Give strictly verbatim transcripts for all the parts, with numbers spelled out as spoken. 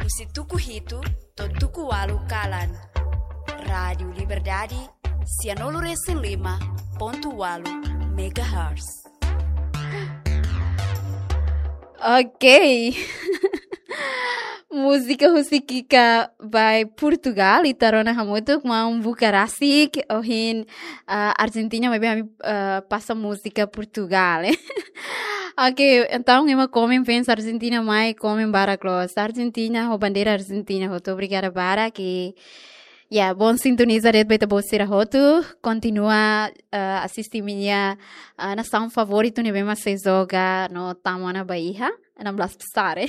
Husi tuku hitu to'o tuku ualu kalan. Rádiu Liberdade, sianulu resin lima pontu ualu megahertz. Ok. Múzika husi Kika by Portugal, ita rona hamutuk, maun buka rasik, ohin, ah, Argentina, maibé ami, ah, pasa múzika Portugal, eh. Ok, entaun ema komen fans Argentina mai, komen barak loos. Argentina, ho bandeira Argentina, hotu obrigada barak, i, ya, bon sintoniza de'it ba ita-boot sira hotu, kontinua, ah, asiste imi-nia, ah, nasaun favoritu ne'ebé mak sei joga no tama ona ba iha enam belas besar, eh.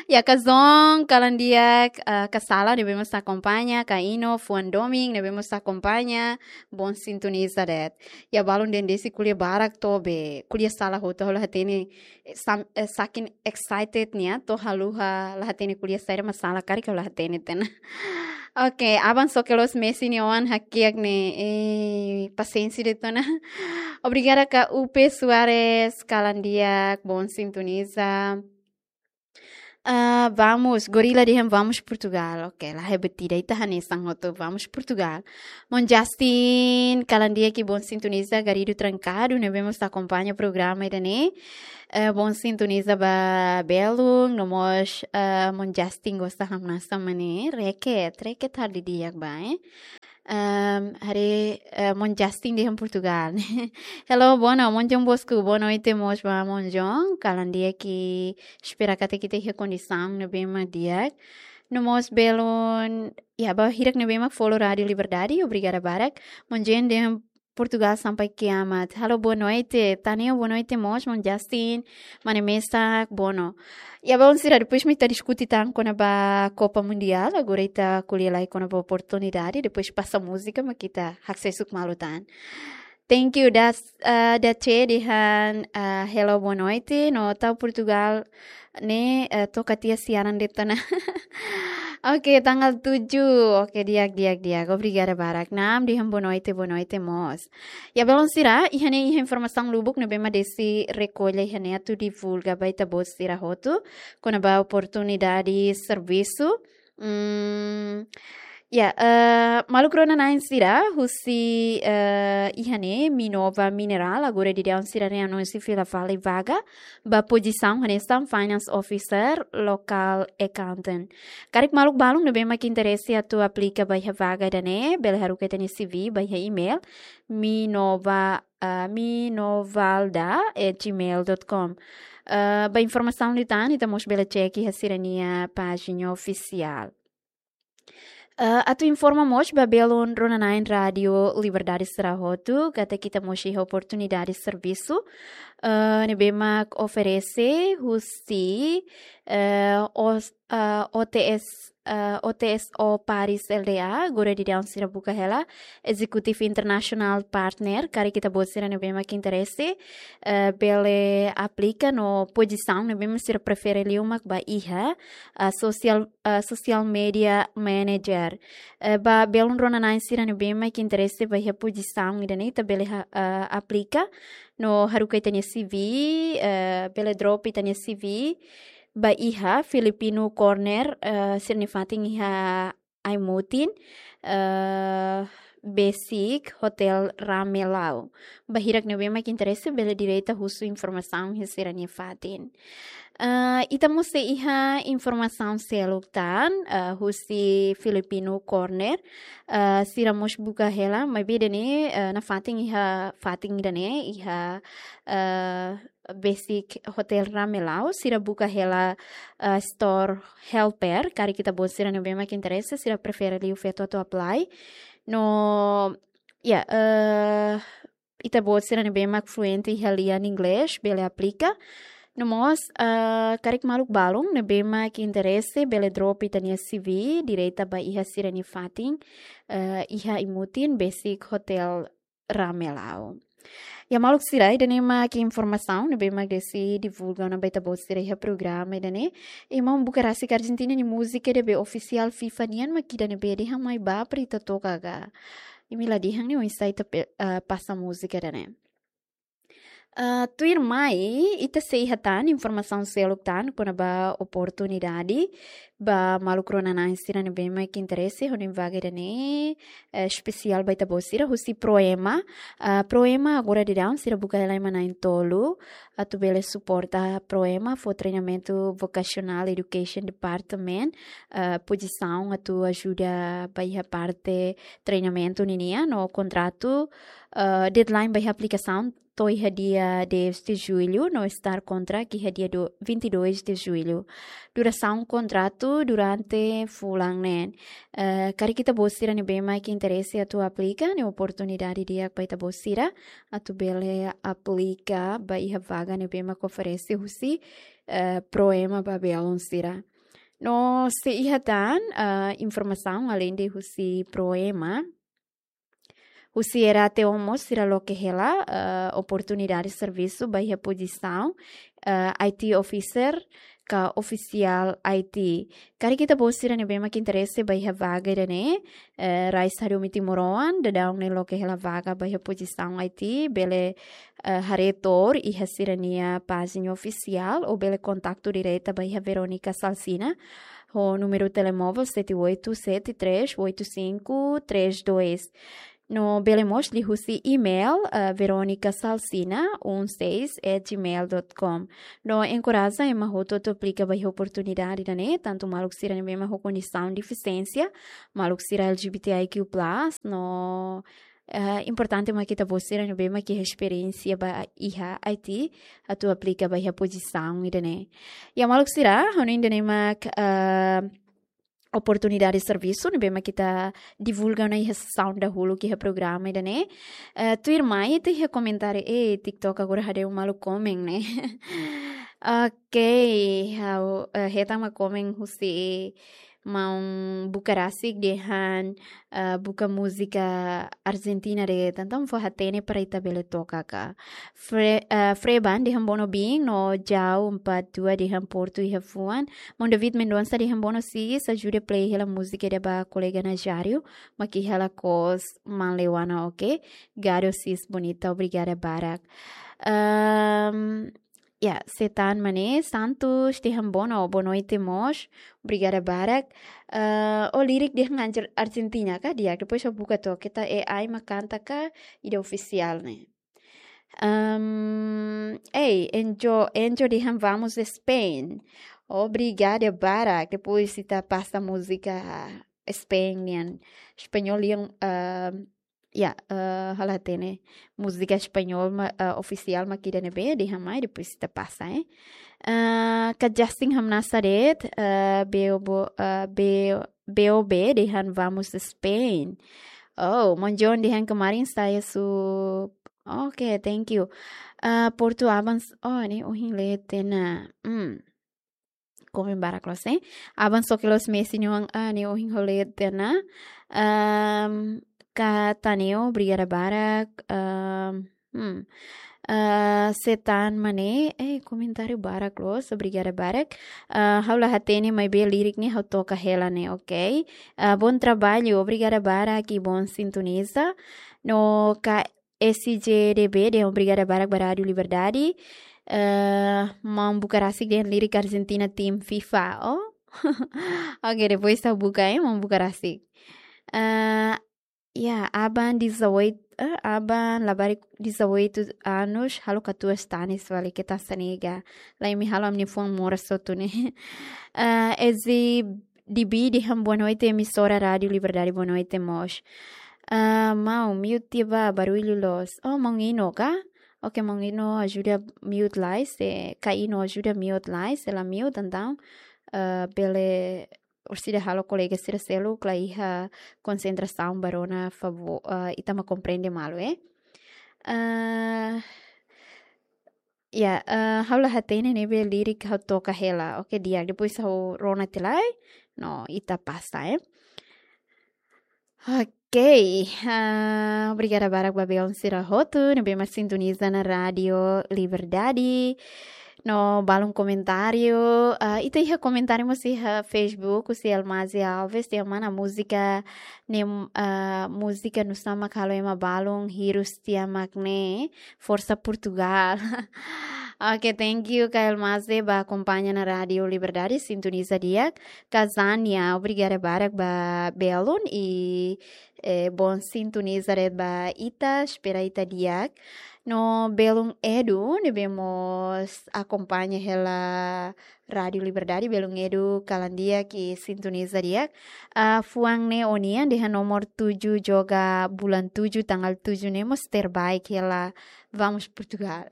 Ya, Kazon, kalan di'ak, ah, Kasala, ne'ebé mak sei akompaña, Kaino, Fuan Doming, ne'ebé mak sei akompaña, bon sintoniza de'it. Ya, balun dehan desde ko'alia barak to'o be, ko'alia sala hotu, ha'u la hatene, eh, sam-, eh, saking excited nian, to'o haluha, la hatene ko'alia saida mak sala, karik ha'u la hatene tiha ona. Ok, aban só ke los Messi nia oan hakiak ne'e, eh, pasiénsia de'it ona. Obrigada ka Upe Soares, kalan di'ak, bon sintoniza. Ah, vamos, Gorila dehan vamos Portugal. Ok, la hebat ida, ita hanesan hotu, vamos Portugal. Mon Justin, kalan di'ak i bon sintoniza, Garrido Trancado, ne'ebé mak sei akompaña programa ida-ne'e. Eh, bon sintoniza ba belun, no mós, eh, Mon Justin gosta hamnasa mane, reket, reket hal di'ak ba, eh. Ehm, haree, eh, Mon Justin dehan Portugal. Hello, boa no-, Mon João Bosco, boa noite mós ba Mon João. Kalan di'ak i espera katak ita iha kondisaun ne'ebé mak di'ak. No mós belun, ya, ba hirak ne'ebé mak follow Rádiu Liberdade, obrigada barak. Mon João dehan Portugal sampai kiamat. Halo, boa noite. Taneo, boa noite mós, Mon Justin. Mane mesak, boa no. Ya, belun sira, depois mak ita diskute tan kona-ba Copa Mundial. Agora ita ko'alia lai kona-ba oportunidade. Depois pasa múzika, mak ita haksoit malu tan. Thank you, das, ah, Dace dehan, ah, hello, boa noite. No tau Portugal ne'e, eh, toka tiha siaran de'it ona. Ok, tanggal tujuh. Ok, di'ak, di'ak, di'ak. Obrigada barak. Naam dehan boa noite, boa noite mós. Ya, belun sira, iha ne'e iha informasaun lubuk ne'ebé mak Desi rekolla iha ne'e atu divulga ba ita-boot sira hotu, kona-ba oportunidade servisu. Hmm, ya, eh, maluk rona-na'in sira, husi, eh, iha ne'e Minova Mineral, agora daudaun sira-nia anúnsiu fila fali vaga ba pozisaun hanesan Finance Officer, Local Accountant. Karik maluk balun ne'ebé mak interese atu aplika ba iha vaga ida-ne'e, bele haruka ita-nia C V ba iha email minova, ah, minovalda at gmail dot com. Ah, ba informasaun liután, ita mós bele cek iha sira-nia pájina ofisiál. Eh, atu informa mós ba belun rona-na'in Rádiu Liberdade sira hotu, katak ita mós iha oportunidade servisu, eh, ne'ebé mak oferese husi, eh, os-, eh, O T S, eh, O T S O Paris L D A, agora daudaun sira buka hela Executive International Partner, karik ita-boot sira ne'ebé mak interese, eh, bele aplika no pozisaun ne'ebé mak sira prefere liu mak ba iha, eh, social, eh, social media manager. Eh, ba belun rona-na'in sira ne'ebé mak interese ba iha pozisaun ida-ne'e ita bele ha-, eh, aplika no haruka ita-nia C V, eh, bele drop ita-nia C V ba iha Filipino Corner, eh, sira-nia fatin iha Aimutin, eh, besik Hotel Ramelau. Ba hirak ne'ebé mak interese bele direta husu informasaun iha sira-nia fatin. Eh, ita mós sei iha informasaun seluk tan, eh, husi Filipino Corner. Eh, sira mós buka hela, maibé ida-ne'e, eh, nafatin iha fatin ida-ne'e, iha, eh, besik Hotel Ramelau, sira buka hela, eh, store helper, karik ita-boot sira ne'ebé mak interese, sira prefere liu feto atu apply. No, ya, eh, ita-boot sira ne'ebé mak fluente iha lian inglés, bele aplika. No mós, eh, karik maluk balun ne'ebé mak interese, bele drop ita-nia C V direta ba iha sira-nia fatin, eh, iha Aimutin, besik Hotel Ramelau. Ya maluk sira, ida-ne'e mak informasaun ne'ebé mak Desi divulga ona ba ita-boot sira iha programa ida-ne'e. I maun buka rasik Argentina nia múzika ida be ofisiál FIFA nian mak ida ne'ebé dehan mai ba para ita toka ka. Imi la dehan ne'e oinsá ita pe-, eh, pasa múzika ida-ne'e. Ah, tuirmai, ita sei iha tan informasaun seluk tan kona-ba oportunidade ba maluk rona-na'in sira ne'ebé mak interese ho nia vaga ida-ne'e, eh, espesiál ba ita-boot sira husi Proema. Ah, Proema agora daudaun sira buka hela ema na'in-tolu atu bele suporta. Proema fó treinamentu Vocational Education Department, eh, pozisaun atu ajuda ba iha parte treinamentu ninian, no kontratu, eh, deadline ba iha aplikasaun to'o iha dia dez de julho, no start contract iha dia do-, vinte e dois de julho. Durasaun kontratu durante fulan neen. Eh, karik ita-boot sira ne'ebé mak interese atu aplika, ne'e oportunidade di'ak ba ita-boot sira atu bele aplika ba iha vaga ne'ebé mak oferese husi, eh, Proema ba belun sira. No sei iha tan, eh, informasaun aleinde husi Proema, husi RATO mós sira loke hela, eh, oportunidade servisu ba iha pozisaun, eh, I T officer ka ofisiál I T. Karik ita-boot sira ne'ebé mak interese ba iha vaga ida-ne'e, eh, rai estadu Timoroan, daudaun ne'e loke hela vaga ba iha pozisaun I T, bele, eh, haree tuir iha sira-nia pájina ofisiál, ou bele kontaktu direta ba iha Verónica Salsina, ho númeru telemóvel sete oito sete três oito cinco três dois. No bele mós liuhusi email, eh, veronicassalsina um seis at gmail dot com. No enkoraja ema hotu atu aplika ba iha oportunidade ida-ne'e, tantu maluk sira ne'ebé mak ho kondisaun defisiénsia, maluk sira L G B T I Q plus, no, eh, importante mak ita-boot sira ne'ebé mak iha esperiénsia ba iha I T atu aplika ba iha pozisaun ida-ne'e. Ya maluk sira, ha'u hanoin ida-ne'e mak, eh, oportunidade servisu ne'ebé mak ita divulga ona iha sesaun dahuluk iha programa ida-ne'e. Eh, tuirmai ita iha komentáriu, eh, TikTok agora haree malu komen ne'e. Ok, ha'u, eh, hetan mak komen husi maun buka rasik dehan, eh, buka múzika Argentina de'it, entaun fó hatene para ita bele toka ka. Fre-, eh, Freban dehan bonobiin, no Jau empat dua dehan Portu iha fuan. Maun David Mendonça dehan bono sis, ajuda play hela múzika ida ba kolega Najário, mak iha lakoos maun Lewana, ok? Gado sis bonita, obrigada barak. Ehm, ya, Setan Mane Santos dehan bono, boa noite mós, obrigada barak. Eh, o lirik dehan Argentina ka di'ak, depois ha'u buka to'ok, keta A I mak kanta ka ida ofisiál ne'e. Ehm, ei, Enjo, Enjo dehan vamos Spain. Obrigada barak. Depois ita pasa múzika Spain nian. Espanhol nian, ehm, ya, eh, ha'u la hatene. Múzika Espanhol ma-, eh, ofisiál mak ida ne'ebé, dehan mai, depois ita pasa, eh. Eh, ka Justin hamnasa de'it, eh, B O B, eh, B O B, B O B dehan vamos Spain. Oh, maun John dehan kemarin saya su-, ok, thank you. Ah, Portu aban s-, oh, ne'e ohin lee tiha ona. Hmm. Komen barak loos, eh. Aban só ke loos Messi nia oan, ah, ne'e ohin ha'u lee tiha ona. Ehm, ka Taneo, obrigada barak. Ehm, hmm. Ah, Setan Mane, eh, komentáriu barak loos, obrigada barak. Ah, ha'u la hatene maibé lirik ne'e ha'u toka hela ne'e, ok? Ah, bom trabalho, obrigada barak i bom sintoniza. No ka S J D B dehan obrigada barak ba Rádio Liberdade. Eh, maun buka rasik dehan lirik Argentina tim FIFA. Oh. Ok, depois ha'u buka, eh, maun buka rasik. Eh, ya, aban dezoito, eh, aban labarik dezoito anos, halo katuas tanis fali, keta sanega. Lai imi halo ami-nia fuan moras hotu ne'e. Eh, S J D B dehan boa noite, emissora Rádio Liberdade, boa noite mós. Ah, maun, mute tiha ba, barullu loos. Oh, maun Ino ka? Ok, maun Ino ajuda mute lai, se ka Ino ajuda mute lai, se la mute, entaun, ah, bele orsida halo kolega sira seluk la iha konsentrasaun ba rona favór, ah, ita mak komprende malu, eh. Ah, ya, eh, ha'u la hatene ne'ebé lirik ha'u toka hela. Ok, di'ak, depois ha'u rona tiha lai. No, ita pasa, eh. Ok, ah, obrigada barak ba belun sira hotu ne'ebé mak sintoniza ona Rádio Liberdade. No balun komentáriu, ah, ita iha komentáriu mós iha Facebook, husi Elmazi Alves, dehan mana múzika ne'e, ah, múzika nusá mak halo ema balun hirus tiha mak ne'e, forsa Portugal. Oke, thank you, ka Elmazi, ba akompaña ona Rádiu Liberdade, sintoniza di'ak. Ka Zania, obrigada barak ba belun i, eh, bom sintoniza de'it ba ita, espera ita di'ak. No belun Edu, ne'ebé mós akompaña hela Rádiu Liberdade, belun Edu kalan di'ak i sintoniza di'ak. Ah, fuan ne'e ó-nian dehan nomor tujuh joga bulan tujuh tanggal tujuh ne'e mós terbaik hela, vamos Portugal.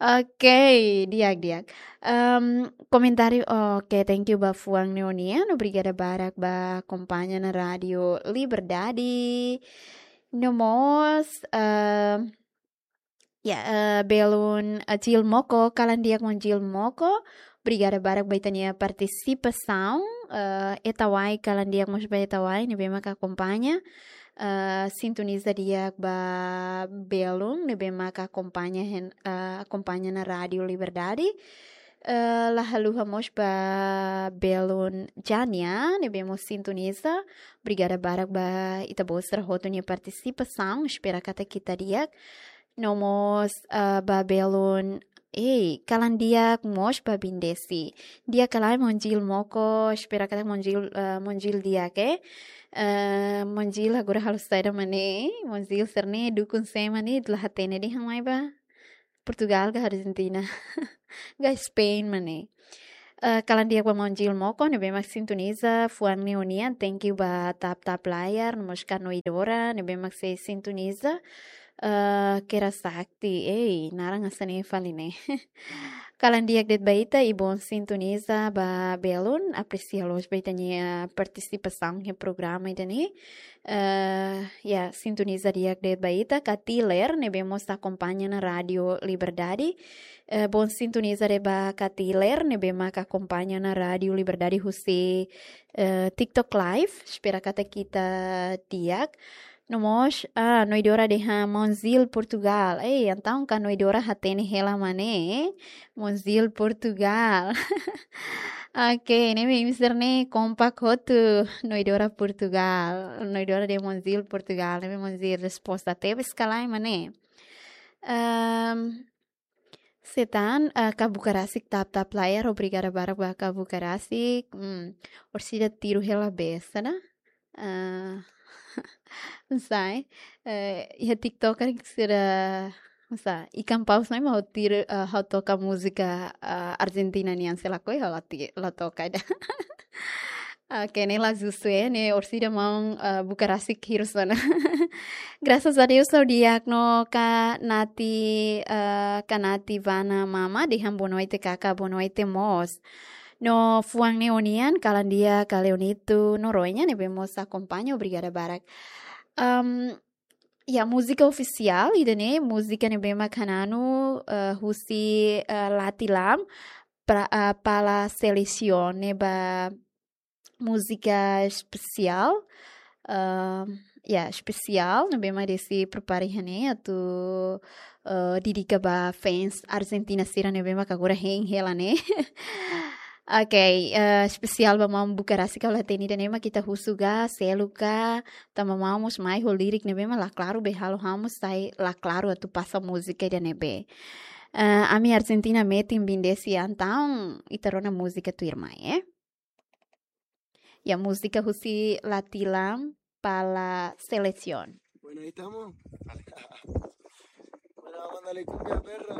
Oke, di'ak, di'ak. Em, komentáriu, oke, thank you ba fuan ne'e ó-nian, obrigada barak ba akompaña ona Rádiu Liberdade. No mós, em, ya, eh, belun, eh, Jil Moko, kalan di'ak maun Jil Moko. Obrigada barak ba ita-nia partisipasaun. Eh, Etawai, kalan di'ak mós ba Etawai, ne'ebé maka akompaña. Eh, sintoniza di'ak ba belun, ne'ebé maka akompaña hein, eh, akompaña ona Rádiu Liberdade. Eh, la haluha mós ba belun Jania, ne'ebé mós sintoniza. Obrigada barak ba ita-boot sira hotu nia partisipasaun. Espera katak ita di'ak. No mós, ah, ba belun, ei, kalan di'ak mós ba Bindesi. Di'ak ka lae maun Jil Moko, espera katak maun Jil, ah, maun Jil di'ak, eh. Eh, maun Jil agora halo saida mak ne'e, maun Jil sira-ne'e dukun sé mak ne'e, la hatene dehan mai ba Portugal ka Argentina. Ka Spain mak ne'e. Eh, kalan di'ak ba maun Jil Moko, ne'ebé mak sintoniza, fuan ne'e ó-nian, thank you ba tap-tap layar, no mós ka Noidora, ne'ebé mak sei sintoniza. Eh, Kera Sakti, ei, naran hanesan ne'e fali ne'e. Kalan di'ak de'it ba ita, i bom sintoniza ba belun, apresia loos ba ita-nia partisipasaun iha programa ida-ne'e. Eh, ya, sintoniza di'ak de'it ba ita, ka Tiler, ne'ebé mós akompaña ona Rádiu Liberdade. Eh, bom sintoniza de'it ba ka Tiler, ne'ebé maka akompaña ona Rádiu Liberdade husi, eh, TikTok Live. Espera katak ita di'ak. No mós, ah, Noidora dehan maun Jil Portugal. Ei, entaun ka Noidora hatene hela mak ne'e, maun Jil Portugal. Oke, ne'e imi sira-ne'e kompak hotu, Noidora Portugal. Noidora dehan maun Jil Portugal, ne'e maun Jil resposta tebes ka lae mak ne'e. Em, Setan, eh, ka Bukarasik tap-tap layar, obrigada barak ba ka Bukarasik. Hmm, orsida tiru hela besa, né? Ah, não sei. Eh, iha TikTok kan sira, não sei, ikan paus mai mau tiru, eh, ha'u toka múzika, eh, Argentina nian, sei lakohi ha'u la ti-, la toka ida. Oke, ne'e la justu, eh, ne'e orsida maun, eh, Bukarasik hirus ona. Graças a Deus, ha'u di'ak no ka Nati, eh, ka Nati Vana Mama, dehan boa noite, kaka, boa noite mós. No fuan ne'e ó-nian, kalan di'ak ka Leonito Noronha, ne'ebé mós akompaña, obrigada barak. Am, ya, múzika ofisiál, ida-ne'e, múzika ne'ebé mak hananu, eh, husi, eh, Latilam, pra, eh, Pala Selesion, ne'e ba múzika espesiál, ah, ya, espesiál, ne'ebé mak Desi prepara iha ne'e atu, ah, dedika ba fans Argentina sira ne'ebé mak agora hein hela ne'e. Oke, eh, espesiál ba maun Bukarasik, kalau hatene ida-ne'e mak ita husu ka, selu ka, tanba maun mós mai ho lirik ne'ebé mak la klaru, be halo ha'u mós sai la klaru atu pasa múzika ida-ne'ebé. Eh, ami Argentina metin Bindesi, entaun ita rona múzika tuirmai, eh. Ya, múzika husi Latilam, Pala Selesion. Bueno, ahí estamos. Bueno, vamos a darle cumbia, perra.